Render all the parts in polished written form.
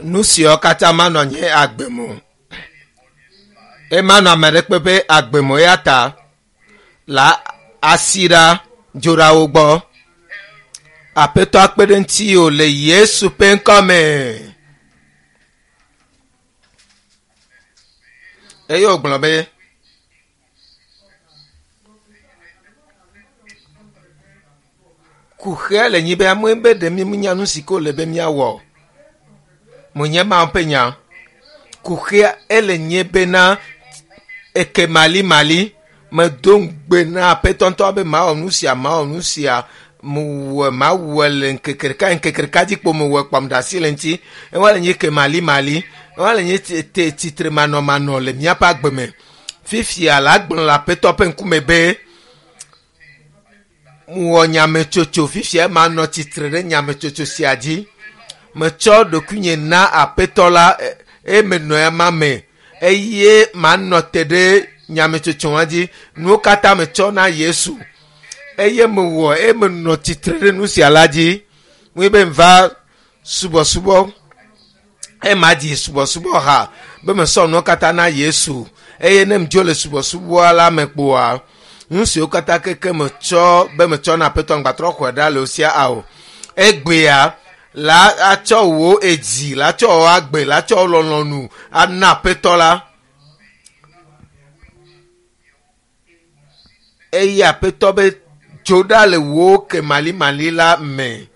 Nu siawo katã manɔ nye agbe me o. Emanɔ ame ɖe kpe ƒe agbe me o eya ta la asi ɖa dzo ɖa wo gbɔ. Aƒetɔ akpe ɖe ŋutiwò le Yesu ƒe ŋkɔ me. Eye wògblɔ be, Kuxia le nyi be amewo be ɖe míenya nu si ke wòle be míawɔ o. Menye Mawu ƒe nya. Kuxia ele nye bena eke malimali medo ŋugbe na aƒetɔ ŋutɔ be mawɔ nu sia mawɔ nu sia mewɔe mawɔe le ŋkeke ɖeka ŋkeke ɖeka dzi kpo mewɔe kpɔm ɖe asi le ŋuti. Ewa le nye ke malimali. Ewa le nye te tsitre manɔmanɔ le míaƒe agbe me. Fifia la gblɔ le aƒetɔ ƒe ŋkume be mewɔ nyametsotso fifia manɔ tsitre ɖe nyametsotso sia dzi. Metsɔ ɖokuinye na aƒetɔ la eye menɔ ema me eye manɔ te ɖe nyametsotsoa dzi. Nuwo katã metsɔ na Yesu eye mewɔ eye menɔ tsitre ɖe nu sia la dzi. Mue be mva subɔsubɔ ema dzi subɔsubɔ ha be mesɔ nuwo katã na Yesu eye ne medzo le subɔsubɔa la me kpoa nu siwo katã keke metsɔ be metsɔ na aƒetɔ ŋgbatrɔ xɔe ɖa le wo sia ao. Egbea la atsɔ wò edzi la tsɔ wò agbe la tsɔ wò lɔlɔ̃nu ana aƒetɔ la. Eye aƒetɔ be dzo ɖa le wò kemalimali la me.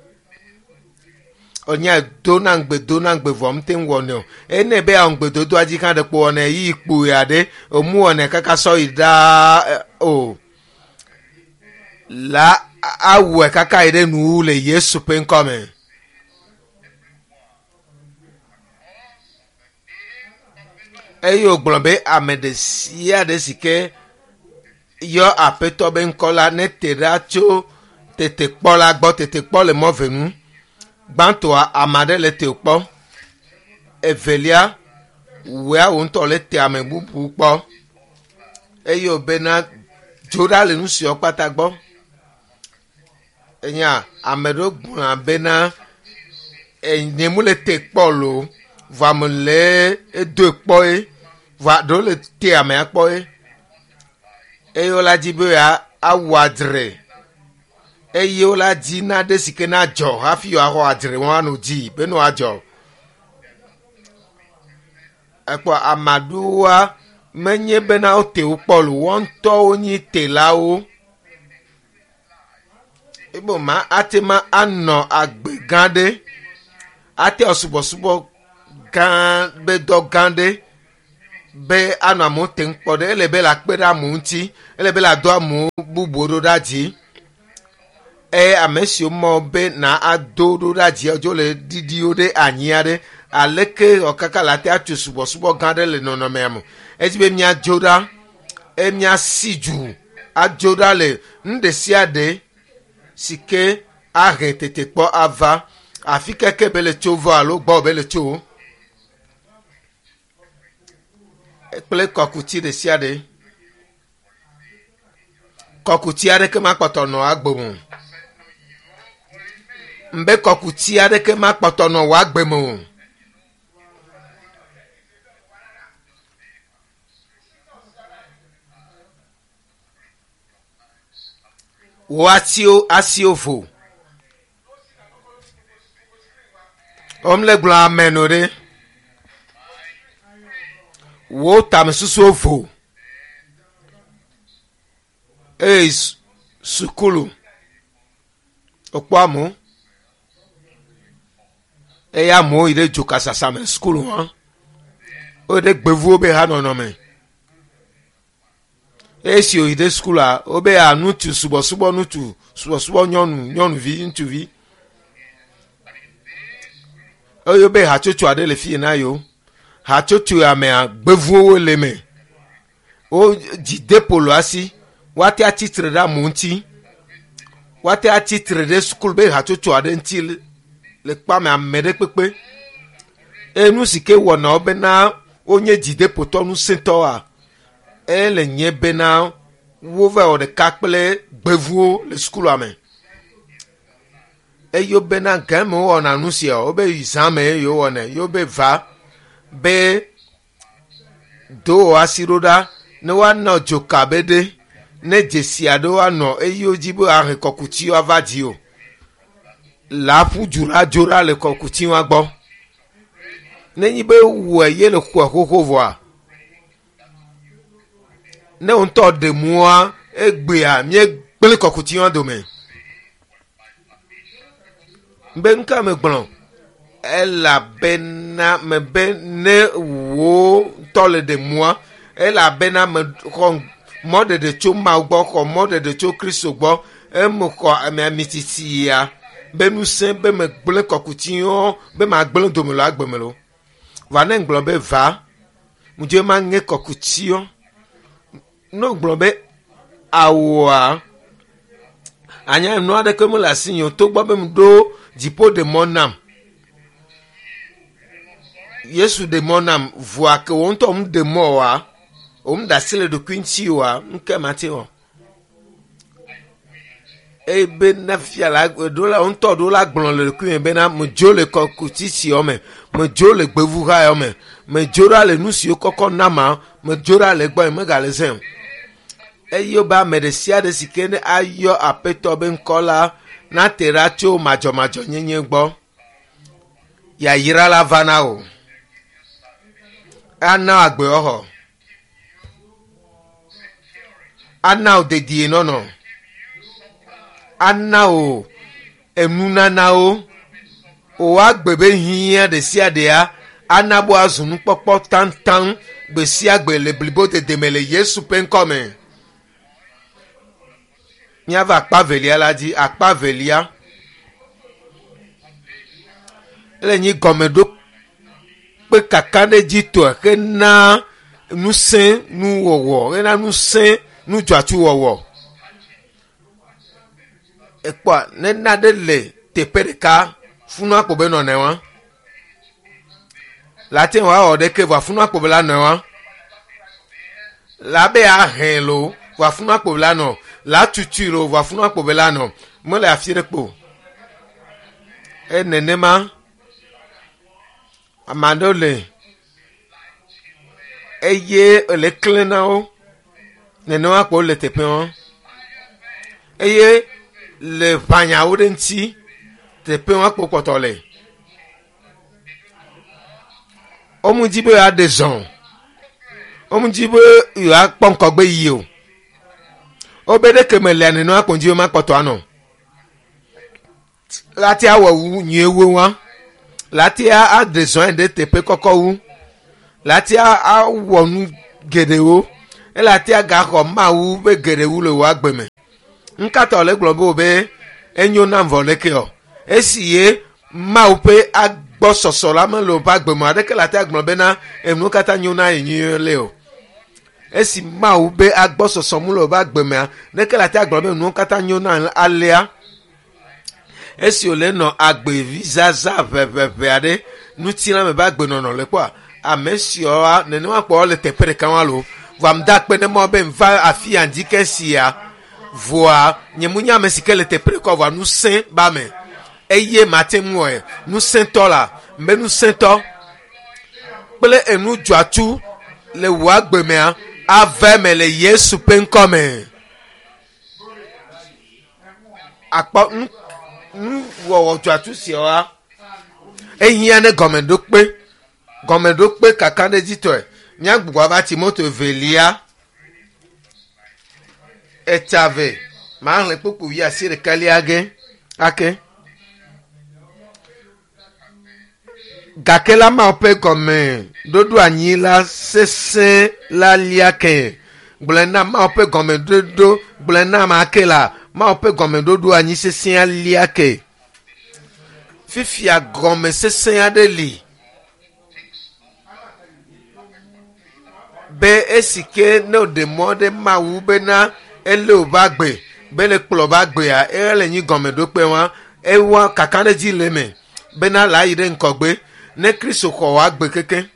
Enya dona ŋugbe dona ŋugbe vɔ mete ŋu wɔnɛ o. Ene be awɔ ŋugbedodoa dzi hã ɖekpo wɔnɛ yi kpui aɖe emu wɔnɛ kaka sɔ yi ɖaa o. La awɔe kaka yi ɖe nuwu le Yesu ƒe ŋkɔ me. Eye wògblɔ be ame ɖe sia ɖe si ke yɔ aƒetɔ be ŋkɔ la nete ɖa tso tetekpɔ la gbɔ. Tetekpɔ le mɔ ve nu. Gbãtɔa, ame aɖe le te kpɔ. Evelia, wòa wò ŋutɔ le te ame bubu kpɔ. Eye wòbena dzo ɖa le nu siawo kpata gbɔ. Enya ame ɖewo gblɔna bena nye mu le te kpɔ loo vɔ ame le edoe kpɔ ye vɔa ɖewo le te amea kpɔ ye eye wola dzi be yeawɔ adzre eye wola dzi nane si ke nadzɔ hafi yewoaxɔ adzre woanɔ dzi be ne woadzɔ. Ekpɔ ame aɖewoa menye bena wote wo kpɔ loo woa ŋutɔwo nyi telawo. Ebe ma ate ma anɔ agbe gã ɖe, ate wɔ subɔsubɔ gã be dɔ gã ɖe be anɔ amewo tem kpɔ ɖe. Ele be le akpe ɖe amewo ŋuti, ele be le do amewo bubuwo ɖo ɖa dzi. Eye ame siwo mɔ be na ado ɖo ɖa dzi dzo le ɖiɖiwo ɖe anyi aɖe aleke wɔ kaka le ate atso subɔsubɔ gã ɖe le nɔnɔmea me. Edzi be míadzo ɖa eye míasi du adzo ɖa le nu ɖe sia ɖe si ke ahe tetekpɔ ava afi keke be le tso vɔ alo gbɔ be le tso kple kɔkuti ɖe sia ɖe. Kɔkuti aɖeke makpɔtɔ nɔ agbe me o. Mbe kɔkuti aɖeke makpɔtɔ nɔ wò agbe me o. Wò asiwo asiwo vo. Wɔm le gblɔ amen o ɖe. Wò tamesusuwo vo. Eye sukulu wokpɔ amewo eye amewo yi ɖe dzokasasa me sukulu hã. Woyi ɖe gbevuwo be hanɔnɔ me. Esi wòyi ɖe sukulua, wobe ya ŋutsu subɔsubɔ ŋutsu, subɔsubɔ nyɔnu, nyɔnuvi, ŋutsuvi. Eye wobe hatsotso aɖe le fi yi na yewo. Hatsotso ya mea, gbevuwo le eme. Wo dzideƒo le woasi. Woate atsitre ɖe amewo ŋuti. Woate atsitre ɖe sukulu be hatsotso aɖe ŋuti le kpɔame ame ɖe kpekpe. Eye nu si ke wɔna wo bena wonye dzideƒotɔ ŋusẽtɔwoa, ele nye bena wova wɔ ɖeka kple gbevuwo le sukulua me. Eye wobena gã me wowɔna nu sia o, wobe yi zã me ye wowɔnɛ. Ye wobe va be do wò asi ɖo ɖa ne woanɔ dzoka be ɖe ne dzesi aɖewo anɔ eye wodzi be ahe kɔkutiwo ava dzi o. La ƒu du ɖa dzo ɖa le kɔkutiwa gbɔ. Nenye be wɔe ye le xɔe xoxo vɔa, ne wo ŋutɔ ɖe mɔa, egbea míegblẽ kɔkutiwa dome. Be nu ka megblɔ? Elabena mebe ne wò ŋutɔ le ɖe mɔa, elabena mexɔ mɔɖeɖe tso Mawu gbɔ, xɔ mɔɖeɖe tso Kristo gbɔ, eme xɔ ame amititi ya be ŋusẽ be megblẽ kɔkutiwo be magblẽ dome le agbe me lo. Va ne ŋgblɔ be va, ŋdze maŋe kɔkutiwo. Ne ŋgblɔ be awua, anya nu aɖeke mele asinye o, togbɔ be meɖo dziƒo ɖe mɔ nam. Yesu ɖe mɔ nam, vɔa ke wo ŋutɔ ŋu ɖe mɔ oa, wo ŋu ɖe asi le ɖokui ŋuti oa, ŋke mate wɔ. Eye be na fia la, ɖo la, ŋutɔ ɖo la gblɔ le ɖokui me bena medzo le kɔkuti siawo me, medzo le gbevuha yawo me, medzo ɖa le nu siwo kɔkɔ na ma, medzo ɖa le egbɔ, megale zẽ o. Eye wobe ame ɖe sia ɖe si ke ne ayɔ Aƒetɔ be ŋkɔ la nate ɖa tso madzɔmadzɔnyenye gbɔ. Yayra la va na wò. Ana agbewɔxɔ. Ana wò dedienɔnɔ. Ana wò enunanawo. Wò agbe be hiã ɖe sia ɖea ana be wòazu nukpɔkpɔ taŋtaŋ gbe sia gbe le blibodede me le Yesu ƒe ŋkɔ me. Míava akpa velia la dzi. Akpa velia ele nyi gɔmeɖokpe kakaɖedzitɔe hena ŋusẽ nuwɔwɔ, hena ŋusẽ nudzɔatsuwɔwɔ. Ekpɔa ne nane le teƒe ɖeka funua kpo be nɔnɔe wa. La te ŋu awɔ ɖeke vɔa funua kpo be la nɔe wa. La be ahẽ lo vɔa funua kpo be la nɔ. La tutui lo vɔa funua kpo be la nɔ. Mele afi ɖe kpo. E nenema ame aɖewo le eye ele klẽ na wo. Nenema kpo le teƒe wa. Eye le ʋanyawo ɖe ŋuti teƒe wa kpo kpɔtɔ le. Womu dzi be yewoaɖe zɔ. Womu dzi be yewoakpɔ ŋgɔgbe yi o. Wobe ɖeke melea nenema kpo ŋdzi be makpɔtɔ anɔ. Lati awɔ wu nyuie wu wa. Lati aɖe zɔ ɖe teƒe kɔkɔ wu. Lati awɔ nu geɖewo. Elati agaxɔ Mawu be geɖe wu le wò agbe me. Ŋkatɔ le gblɔ be wo be enyo nam vɔ leke o. Esi ye Mawu ƒe agbɔsɔsɔ la mele woƒe agbe me aɖeke le ate agblɔ bena enuwo katã nyo na ye nyuie le o. Esi Mawu be agbɔsɔsɔ mu le woƒe agbe mea, ɖeke le ate agblɔ be enuwo katã nyo na alea. Esi wòle nɔ agbevizaza ʋeʋeʋe aɖe ŋutilãme ƒe agbenɔnɔ le kpɔa, ame siawoa nenema kpɔ le teƒe ɖeka wa lo. Vɔa ŋda akpe ne mɔ be ŋva afi ya ŋdi ke sia vɔa nye mu nye ame si ke le teƒe ɖeka vɔa ŋusẽ ba me. Eye mate ŋu wɔe. Ŋusẽtɔ la, mbe ŋusẽtɔ kple enu dzɔatsu le wò agbe mea ava eme le Yesu ƒe ŋkɔ me. Akpɔ nu nuwɔwɔ dzɔatsu siawoa ehiã ne gɔmeɖokpe gɔmeɖokpe kakaɖedzitɔe. Míagbugbɔ ava Timoto evelia etsave maxlẽ kpukpu wuiasiɖekɛlia ge ake. Gake la Mawu ƒe gɔmeɖoɖo anyi la sesẽ la lia ke. Gblɔe na Mawu ƒe gɔmeɖoɖo gblɔe na ame ake la Mawu ƒe gɔmeɖoɖo anyi sesẽ lia ke. Fifia gɔme sesẽ aɖe li be esi ke ne wòɖe mɔ ɖe Mawu bena elé wòƒe agbe be le kplɔ woƒe agbea ele nyi gɔmeɖokpe wa ewa kakaɖedzi le eme bena la yi ɖe ŋgɔgbe ne Kristo xɔ wò agbe keke.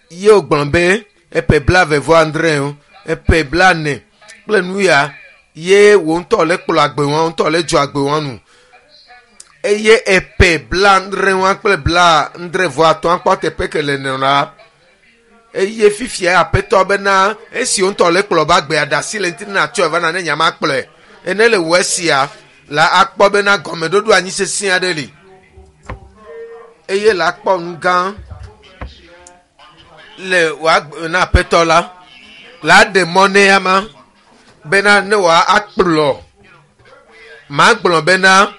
Ye wògblɔ be eƒe 25 o, eƒe 40 kple nu ya. Ye wò ŋutɔ le kplɔ agbe wɔn ŋutɔ le dzɔ agbe wɔn nu. Eye epe 70 wɔn kple 75 kpɔ teƒe ke le nɔ la. Eye fifia Aƒetɔ bena esi wo ŋutɔ le kplɔ ba agbea ɖe asi le ŋuti ne natsɔe va na ne nyama kplɔe. Ene le wɔ esia la akpɔ bena gɔmeɖoɖo anyi sesẽ aɖe li. Eye la akpɔ nu gã le wò agbe na Aƒetɔ la. La ɖe mɔ ne ama bena ne wòa akplɔ. Magblɔ bena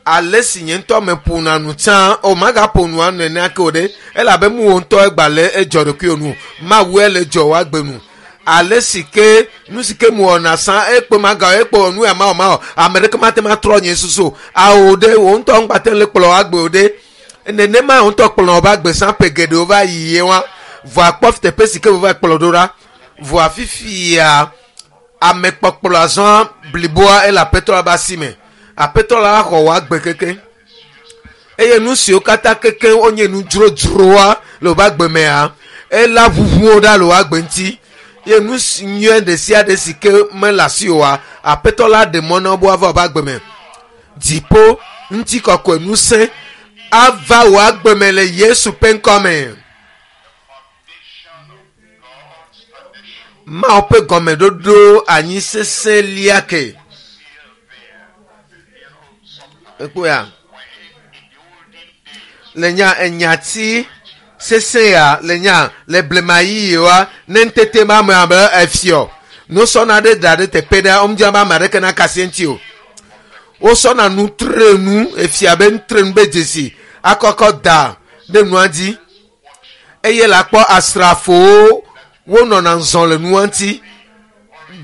ale si nye ŋutɔ meƒona nu tsã o magaƒo nua nenea ke o ɖe elabe mu wo ŋutɔ egba le edzɔ ɖokuiwò nu Mawu le dzɔ wò agbe nu ale si ke nu si ke mu wɔna sã ekpe maga ekpe wɔ nu ya mawɔ mawɔ ame ɖeke mate ma trɔ nye susu o awo ɖe wo ŋutɔ ŋgbate le kplɔ agbe o ɖe nenema wo ŋutɔ kplɔ woƒe agbe sã ƒe geɖewo va yi ye wa vɔa kpɔ teƒe si ke wova kplɔ ɖo ɖa vɔa fifia ame kpɔkplɔ azɔ bliboa ele Aƒetɔ la be asi me. Aƒetɔ la xɔ wò agbe keke eye nu siwo katã keke wonye nu dzrodzroa le woƒe agbe mea ela ʋuʋuwo ɖa le wò agbe ŋuti ye nu si nyuie ɖe sia ɖe si ke mele asi oa Aƒetɔ la ɖe mɔ na wo be woava woƒe agbe me. Dziƒo ŋutikɔkɔe ŋusẽ ava wò agbe me le Yesu ƒe ŋkɔ me. Mawu ƒe gɔmeɖoɖo anyi sesẽ lia ke. Ekpɔa? Le nya enyati sesẽ ya le nya le blema yiyiwoa ne ŋutete ma me abe efiɔ nusɔna ɖe da ɖe teƒe ɖe womdzra be ame aɖeke nakasi eŋuti o. Wosɔna nutrenu efia be nutrenu be dzesi akɔkɔ da ɖe nua dzi eye la kpɔ asrafowo wonɔna zɔ le nua ŋuti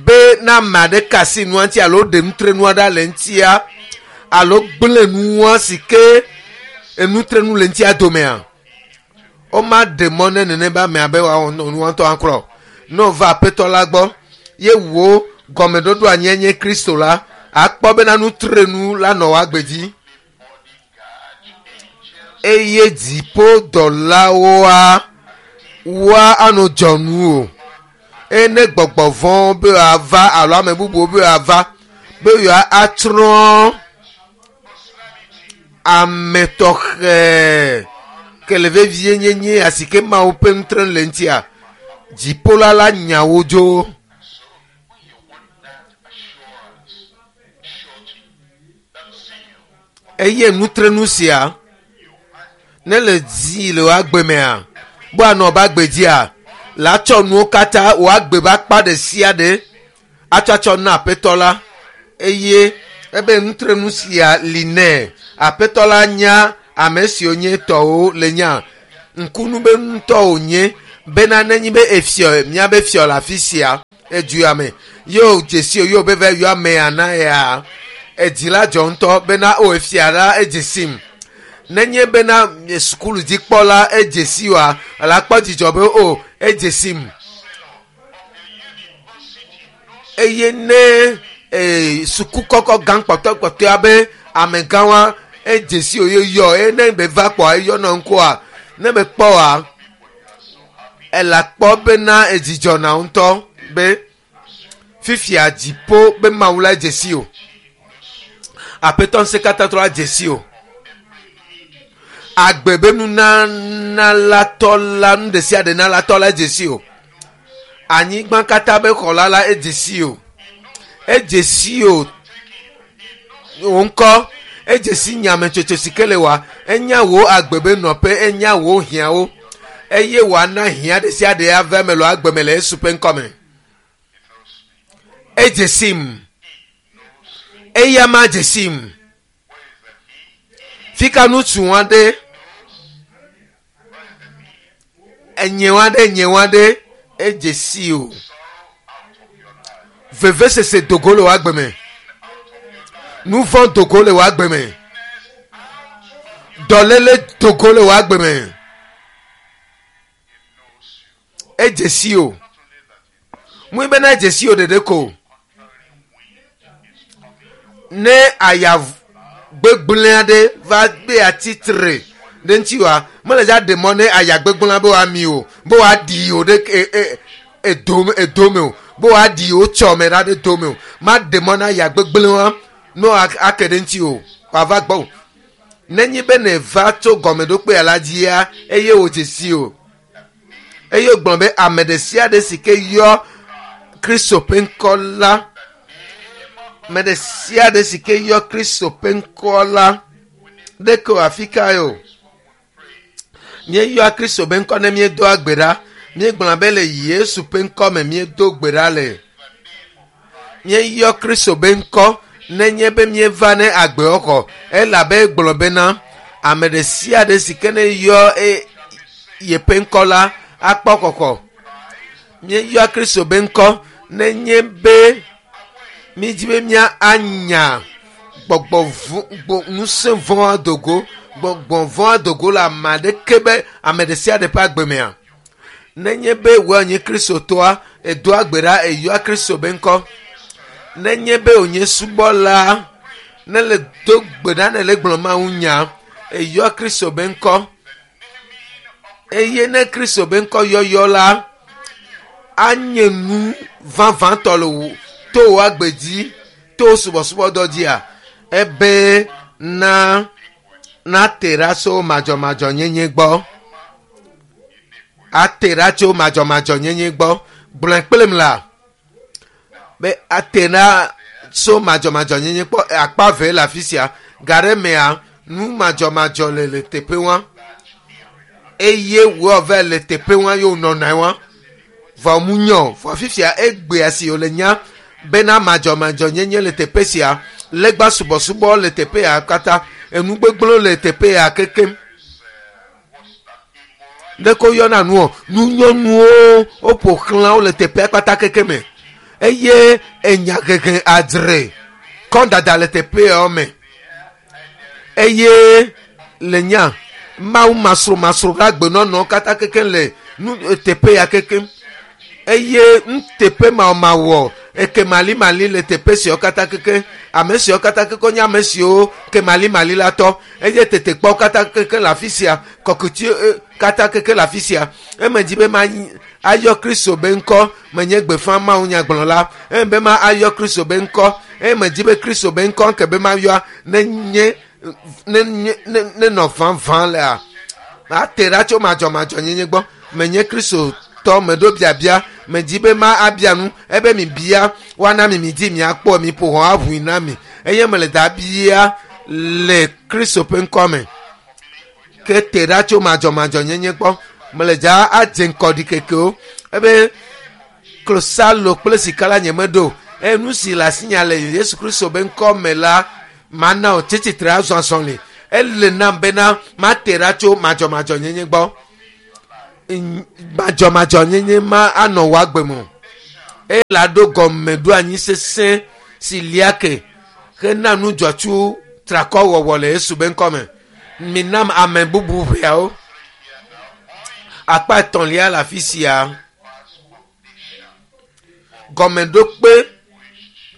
be na ame aɖe kasi nua ŋuti alo ɖe nutrenua ɖa le ŋutia alo gblẽ nua si ke enutrenu le ŋutia domea woma ɖe mɔ ne nene be amea be woawɔ nua ŋutɔ aklɔ ne wova Aƒetɔ la gbɔ ye wo gɔmeɖoɖo anyi nye Kristo la akpɔ bena nutrenu la nɔ wò agbe dzi eye dziƒodɔlawoa woa anɔ dzɔnu o eye ne gbɔgbɔ vɔ̃wo be woava alo ame bubuwo be woava be yewoa atsrɔ̃ ame tɔxɛ ke le vevie nyenye asi ke Mawu ƒe nutrenu le ŋutia dziƒo la la nya wo dzo. So when you want that assurance, surety, that seal, Eye nutrenu sia ne le dzi le wò agbe mea be anɔ be agbe dzia la tsɔ nuwo katã wò agbe be akpa ɖe sia ɖe atsɔatsɔ na Aƒetɔ la eye ebe nutrenu sia li nɛ. Aƒetɔ la nya ame siwo nye tɔwo le nya ŋkunu be ŋutɔ wònye bena nenye be efiɔ míabe fiɔ le afi sia edu ya me ye wò dzesi o ye wò be va yɔ amea na ya edzi la dzɔ ŋutɔ bena o efia la edze sim nenye bena sukulu dzikpɔla edze si oa la kpɔ dzidzɔ be o edze sim eye ne suku kɔkɔ gã kpɔtɔkpɔtɔa be amegãwoa edze si o ye yɔ eye ne be va kpɔa eyɔ nɔ ŋkɔa ne be kpɔ oa ela kpɔ bena edzidzɔ na ŋutɔ be fifia dziƒo be Mawu la edze si o Aƒetɔ ŋusẽkatãtɔ la dze si o agbe be nunanalatɔ la nu ɖe sia ɖe nalatɔ la edze si o anyigba katã be xɔla la edze si o edze si o wò ŋkɔ edze si nyametsotso si ke le wa enya wò agbe be nɔƒe enya wò hiãwo eye wòana hiã ɖe sia ɖe ava eme le agbe me le Yesu ƒe ŋkɔ me. Edze sim eya ma dze sim fika ŋutsu aɖe enyewa ɖe enyewa ɖe edze si o vevesese dogo le wò agbe me nu vɔ̃ dogo le wò agbe me dɔléle dogo le wò agbe me edze si o mui bena edze si o ɖeɖe ko ne aya gbegblẽ aɖe va gbé atitre ɖe ŋuti wa mele dza ɖe mɔ ne aya gbegblẽa be wòami o be wòaɖi o ɖe e, e, edome edome o be wòaɖi o tsɔ me ɖa ɖe dome o. Maɖe mɔ na ya gbegblẽ wa ne ake ɖe ŋuti o wòava gbɔ o. Nenye be nèva tso gɔmeɖokpea la dzia, eye wòdze si o. Eye wògblɔ be ame ɖe sia ɖe si ke yɔ Kristo ƒe ŋkɔ la, ame ɖe sia ɖe si ke yɔ Kristo ƒe ŋkɔ la, ɖeke o afi kae o. Míeyɔa Kristo ƒe ŋkɔ ne míedoa gbe ɖa. Míegblɔna be le Yesu ƒe ŋkɔ me míedo gbe ɖa le. Míeyɔ Kristo ƒe ŋkɔ nenye be míeva ne agbexɔxɔ elabe egblɔ bena ame ɖe sia ɖe si ke ne yɔ e, yeƒe ŋkɔ la akpɔ xɔxɔ. Míeyɔa Kristo ƒe ŋkɔ nenye be mídi be mía anya gbɔgbɔ vɔ̃ ŋusẽ vɔ̃ adogo gbɔgbɔ vɔ̃ adogo le ame aɖeke be ame ɖe sia ɖe ƒe agbe mea. Nenye be wòe nye Kristotɔa, edoa gbe ɖa eyɔa Kristo be ŋkɔ. Nenye be wònye subɔla, ne le do gbe ɖa ne le gblɔ Mawu nya, eyɔa Kristo be ŋkɔ. Eye ne Kristo be ŋkɔ yɔyɔ la, anye nu vavãtɔ le wò to wò agbe dzi, to wò subɔsubɔdɔ dzia, ebe na nate ɖa tso madzɔmadzɔnyenye gbɔ. Ate ɖa tso madzɔmadzɔnyenye gbɔ. Gblɔe kplim la be ate ɖa tso madzɔmadzɔnyenye gbɔ. Akpa ve le afi sia. Ga ɖe mea, nu madzɔmadzɔ le le teƒe wa eye wòe va le teƒe wa ye wònɔna wa. Vɔ mu nyɔ. Vɔ fifia egbea si wòle nya bena madzɔmadzɔnyenye le teƒe sia, legba subɔsubɔ le teƒe ya katã, enu gbegblẽwo le teƒe ya kekem. Ɖeke woyɔna nuɔ, nunyɔnuwo woƒo xlã wo le teƒea kpata keke me eye enya hehe adzre kɔdada le teƒeawo me eye le nya Mawu masromasro ƒe agbenɔnɔ katã keke le nu teƒe ya kekem eye nuteƒe mawɔmawɔ ekemalimali le teƒe siawo katã keke ame siawo katã keke nye ame siwo kemalimali la tɔ eye tetekpɔwo katã keke le afi sia kɔkuti katã keke le afi sia eme dzi be ma ayɔ Kristo be ŋkɔ menye gbeƒã Mawu nyagblɔla eme be ma ayɔ Kristo be ŋkɔ eme dzi be Kristo be ŋkɔ ke be ma yɔa ne nye ne nye ne nenɔ vavã lea ate ɖa tso madzɔmadzɔnyenye gbɔ menye Kristotɔ meɖo biabia medzi be ma abia nu ebe mi bia woana mi mi dzi miakpɔ mi ƒo hɔn aʋui na mi eye mele da bia le Kristo ƒe ŋkɔ me ke te ɖa tso madzɔmadzɔnyenye gbɔ mele dza adze ŋkɔ ɖikekewo ebe klosalo kple sika la nye meɖo eye nu si le asinya le Yesu Kristo be ŋkɔ me la mana wò tsitsitre azɔ azɔli ele nam bena mate ɖa tso madzɔmadzɔnyenye gbɔ madzɔmadzɔnyenye ma anɔ wò agbe me o eye la ɖo gɔmeɖoanyi sesẽ si lia ke hena nu dzɔtsu trakɔ wɔwɔ le Yesu be ŋkɔ me minam ame bubu ʋeawo akpa etɔ̃lia le afi sia gɔmeɖokpe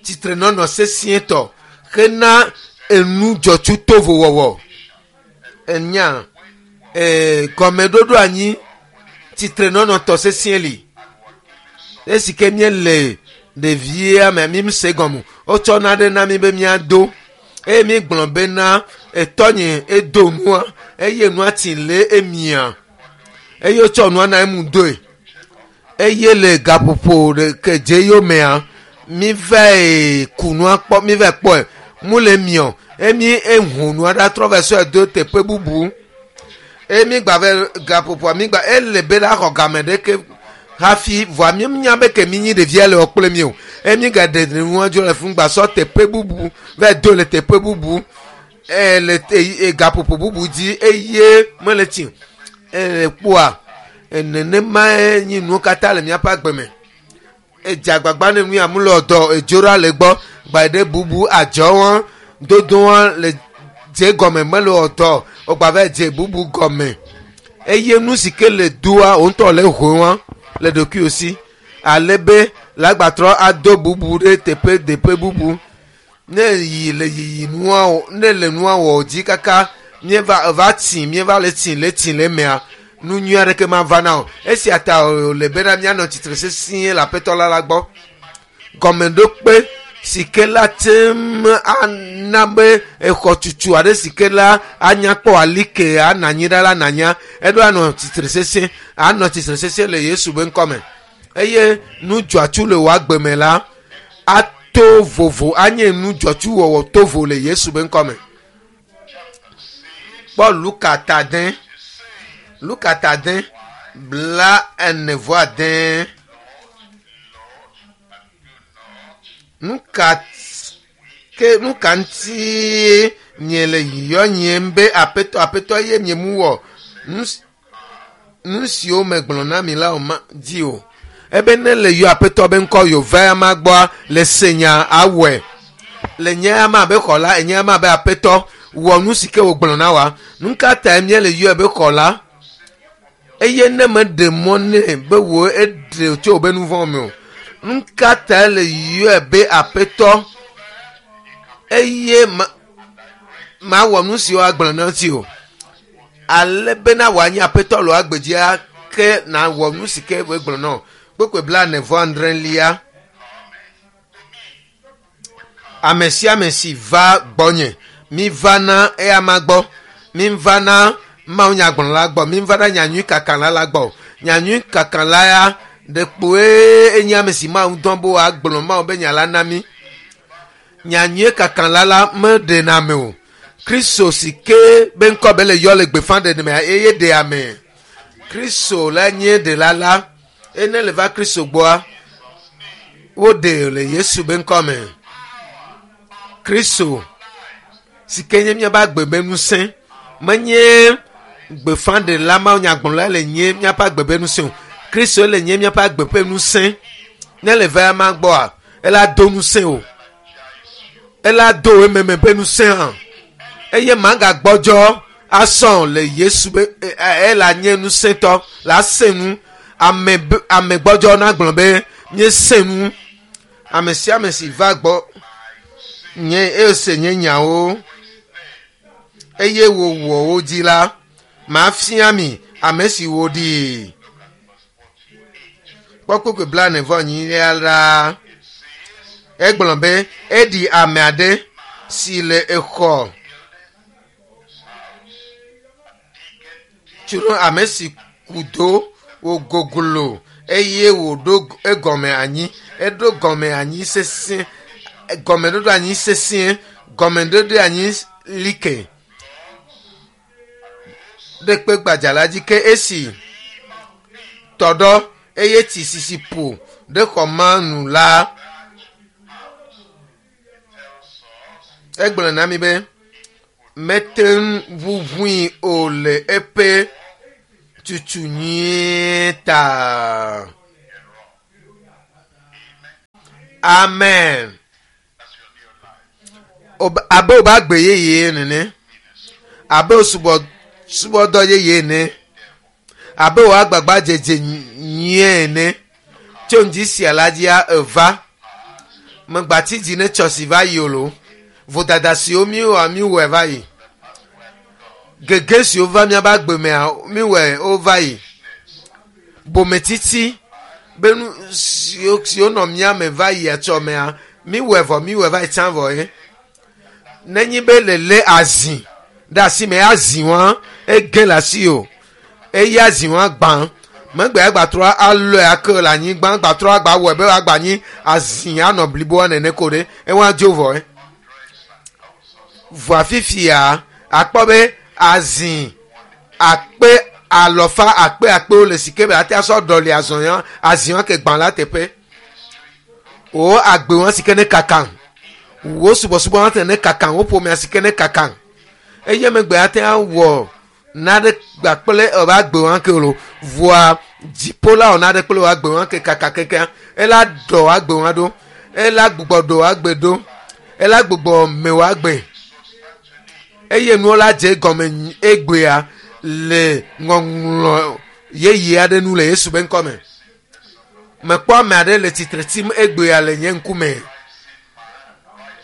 tsitrenɔnɔ sesĩetɔ hena enu dzɔtsu tovo wɔwɔ enya gɔmeɖoɖo anyi tsitrenɔnɔ tɔ sesĩe li esi ke míele ɖevia me mi se gɔme wotsɔ naɖe na mi be míado eye mi gblɔ bena etɔnye edo nua eye nua tsi le emia eye wotsɔ nua na emu doe eye le gaƒoƒo ɖeke dze yomea mi va ku nua kpɔ mi va kpɔe mu le miɔ emi ehu nua ɖa trɔ va sɔe do teƒe bubu eye mi gba va gaƒoƒoa mi gba ele be la xɔ game ɖeke hafi vɔa mi nya be ke mi nyi ɖevia le wɔ kple mi o eye mi ga ɖe nua dzo le fún gba sɔ teƒe bubu va do le teƒe bubu ele gaƒoƒo bubu dzi eye mele tsi ele kpoa nenemae nyi nuwo katã le míaƒe agbe me edze agbagba ne nu ya mu le dɔ edzo ɖa le gbɔ gba ɖe bubu adzɔ wɔn dodo wɔn le dze gɔme mele dɔ wogba va dze bubu gɔme eye nu si ke le doa wo ŋutɔ le hoe wɔn le ɖokuiwo si ale be lagbatrɔ ado bubu ɖe teƒe teƒe bubu ne yi le yiyi nua ne le nua wɔ dzi kaka míeva va tsi míeva le tsi le tsi le mea nu nyui aɖeke ma va na o esia ta wòle bena míanɔ tsitre sesĩe le aƒetɔ la la gbɔ gɔmeɖokpe si ke la te ŋu ana be exɔtutu aɖe si ke la anya kpɔ alike anɔ anyi ɖa la nanya eɖo anɔ tsitre sesẽ anɔ tsitre sesẽ le Yesu be ŋkɔme eye nu dzɔatsu le wò agbe me la ato vovo anye nu dzɔatsu wɔwɔ to vo le Yesu be ŋkɔme. Kpɔ Luka ta de Luka ta de 45. Nu ka ke nu ka ŋuti miele yɔ nyem be aƒetɔ aƒetɔ eye miemu wɔ nu s- nu siwo megblɔ na mi la o ma dzi o. Ebe ne le yɔ aƒetɔ be ŋkɔ yova ama gbɔa le se nya awɔe. Le nye ama be xɔla enye ama be aƒetɔ wɔ nu si ke wògblɔ na wa. Nu ka tae míele yɔe be xɔla? Eye ne meɖe mɔ nɛ be wò eɖe tso wò be nu vɔ̃ me o. Nu ka tae le yɔe be aƒetɔ? Eye ma mawɔ nu siwo agblɔ na ŋuti o. Ale bena wòanye aƒetɔ le wò agbe dzia ke nawɔ nu si ke wògblɔ na wò. Kpukpui 46. Ame sia ame si va gbɔnye, mi va na eyama gbɔ, mi va na mawunyagblɔla gbɔ, mi va na nyanyui kakala la gbɔ. Nyanyui kakala ya ɖekpoe enye ame si Mawu dɔ be wòagblɔ Mawu be nya la na mí. Nyanyui kakala la meɖena ame o. Kristo si ke be ŋkɔ be le yɔ le gbeƒã ɖeɖe mea eye ɖe ame. Kristo la nye ɖela la. Ene le va Kristo gbɔa, woɖe le Yesu be ŋkɔ me. Kristo si ke nye míaƒe agbe be ŋusẽ menye gbeƒãɖela mawunyagblɔla le nye míaƒe agbe be ŋusẽ o. Kristo le nye míaƒe agbe ƒe ŋusẽ. Ne le va ema gbɔa, ela do ŋusẽ o. Ela do ememe ƒe ŋusẽ hã. Eye magagbɔdzɔ asɔ le Yesu be ela nye ŋusẽtɔ la sẽ nu. Ame be ame gbɔdzɔ nagblɔ be míesẽ nu. Ame sia ame si va gbɔ nye ese nye nyawo eye wòwɔ wo dzi la, mafia mi ame si wòɖi. Kpɔ kpukpui 44 la. Egblɔ be eɖi ame aɖe si le exɔ tso ame si ku do wògoglo eye wòɖo egɔme anyi. Eɖo gɔme anyi sesẽ gɔmeɖoɖo anyi sesĩe gɔmeɖoɖo anyi like ɖe kpe gbadza la dzi ke esi tɔɖɔ eye tsi sisi ƒo ɖe xɔ ma nu la egblɔ na mi be mete ŋu ʋuʋui o le eƒe tutu nyuie ta. Amen. Abe wòbe agbe yeye nene, abe wò subɔsubɔdɔ yeye ene, abe wò agbagba dzedze nyuie ene. Tso ŋdi sia la dzia eva. Megbati dzi ne tsɔ si va yi o lo. Vodada siwo míewɔa míwɔe va yi. Gege siwo va míaƒe agbe mea míwɔe wova yi. Bometsitsi be nu siwo siwo nɔ mía me va yi etsɔ mea míwɔe vɔ míwɔe va yi tsã vɔ ye. Nenye be lele azi ɖe asi me azi wa ege le asi o. Eye azi wa gbã. Megbe agbatrɔ alɔe ake le anyigba agbatrɔ agba wɔe be agba nyi azi anɔ bliboa nene ko ɖe ewa dzo vɔ ye. Vɔa fifia akpɔ be azi akpe alɔfa akpe akpewo le si ke be ate asɔ ɖɔli azɔ ya azi wa ke gbã la teƒe. Wo agbe wa si ke ne kaka. Wo subɔsubɔ wa te ne kaka. Wo ƒomea si ke ne kaka. Eye megbe ate awɔ naɖe gba kple eƒe agbe wa ke o. Vɔa dziƒo la wɔ naɖe kple wò agbe wa ke kaka kekeŋ. Ela ɖɔ agbe wa ɖo. Ela gbugbɔ ɖo agbe ɖo. Ela gbugbɔ me wò agbe. Eye nuwo la dze egɔme egbea le ŋɔŋlɔ yeye aɖe nu le Yesu be ŋkɔme. Mekpɔ ame aɖe le tsitre tsim egbea le nye ŋkume.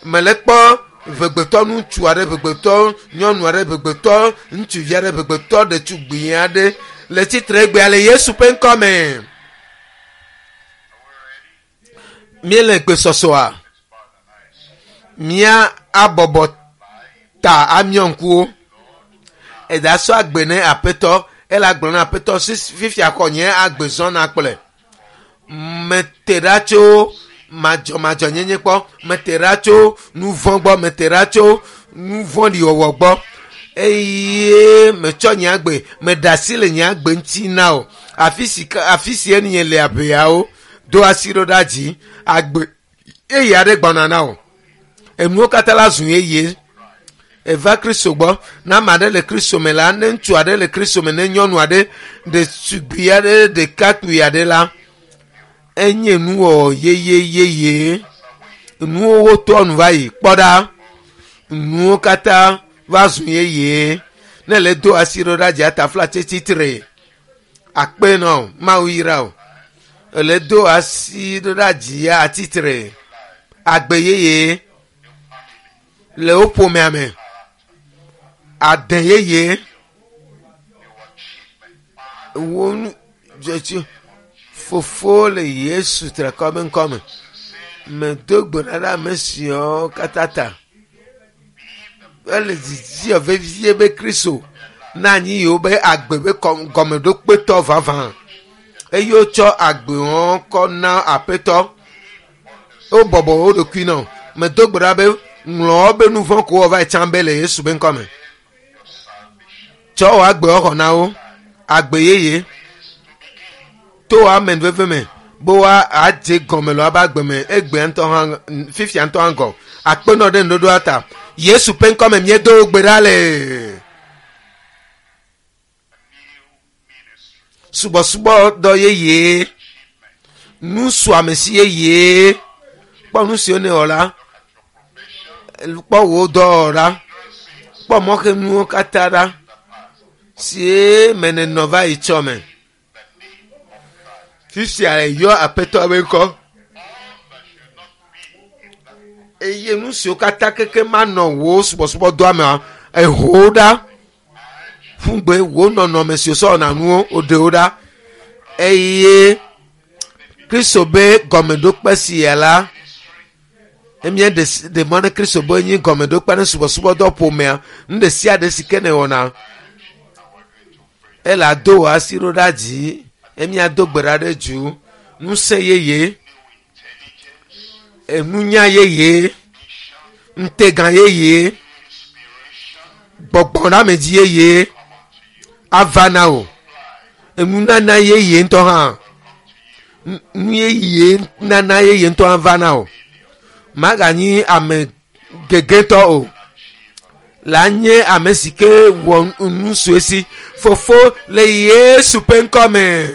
Mele kpɔ ʋegbetɔ ŋutsu aɖe, ʋegbetɔ nyɔnu aɖe, ʋegbetɔ ŋutsuvi aɖe, ʋegbetɔ ɖetugbui aɖe le tsitre egbea le Yesu ƒe ŋkɔme. Míele gbesɔsɔa? Mía abɔbɔ ta amiɔ ŋkuwo. Eda sɔ agbe ne aƒetɔ ele agblɔ na aƒetɔ fifia xɔ nye agbe zɔna kple. Mete ɖa tso madzɔmadzɔnyenye gbɔ, mete ɖa tso nu vɔ̃ gbɔ, mete ɖa tso nu vɔ̃ɖi wɔwɔ gbɔ eye metsɔ nye agbe meɖe asi le nye agbe ŋuti na o. Afi si afi si enye le aʋeawo do asi ɖo ɖa dzi agbe eye aɖe gbɔna na o. Enuwo katã la zu yeye. Eva Kristo gbɔ. Ne ame aɖe le Kristo me la, ne ŋutsu aɖe le Kristo me, ne nyɔnu aɖe, ɖetugbui aɖe, ɖekakpui aɖe la, enye nuwɔwɔ yeye yeye. Nuwo wotɔ nu va yi. Kpɔ ɖa, nuwo katã va zu yeye. Ne le do asi ɖo ɖa dzi atafla tsitre. Akpe nɔ Mawu yra o. Ele do asi ɖo ɖa dzi atitre. Agbe yeye le wo ƒomea me. Ade yeye. Wo nu dzɔtsi fofo le Yesu trekɔ be ŋkɔ me. Medo gbe ɖa ɖe ame siawo katã ta. Ele didi vevie be Kristo na anyi yewo be agbe be gɔmeɖokpetɔ vavã. Eye wotsɔ agbe wɔn kɔ na aƒetɔ. Wobɔbɔ wo ɖokui nɔ. Medo gbe ɖa be ŋlɔ wobe nu vɔ̃ ko wɔ va yi tsã be le Yesu be ŋkɔ me. Tsɔ wò agbe xɔ na wo. Agbe yeye. To wò amenuveve me be woa adze gɔme le woabe agbe me egbe ŋutɔ hã fifia ŋutɔ hã gɔ. Akpenɔ ɖe nuɖoɖoa ta. Yesu ƒe ŋkɔ me míedo gbe ɖa le. Subɔsubɔdɔ yeye. Nusuamesi yeye. Kpɔ nu siwo nèwɔ la. Kpɔ wò dɔwɔwɔ ɖa. Kpɔ mɔxenuwo katã ɖa. Sie me nènɔ va yi tsɔ me. Fifia eyɔ aƒetɔ be ŋkɔ. Eye nu siwo katã keke manɔ wò subɔsubɔdɔa mea, eho wo ɖa. Ƒugbe wò nɔnɔme siwo sɔ wɔna nuwo, woɖe wo ɖa. Eye Kristo be gɔmeɖokpe sia la, emía ɖe mɔ ne Kristo be nyi gɔmeɖokpe ne subɔsubɔdɔ ƒomea, nu ɖe sia ɖe si ke nèwɔna, ele ado wò asi ɖo ɖa dzi, emía do gbe ɖa ɖe dzu, ŋusẽ yeye, enunya yeye, ŋutegã yeye, gbɔgbɔɖamedzi yeye ava na wò. Enunana yeye ŋutɔ hã, nu yeye nana yeye ŋutɔ hã va na wò. Maganyi ame gegetɔ o. La nye ame si ke wɔ nu sue si. Fofo le Yesu ƒe ŋkɔ me.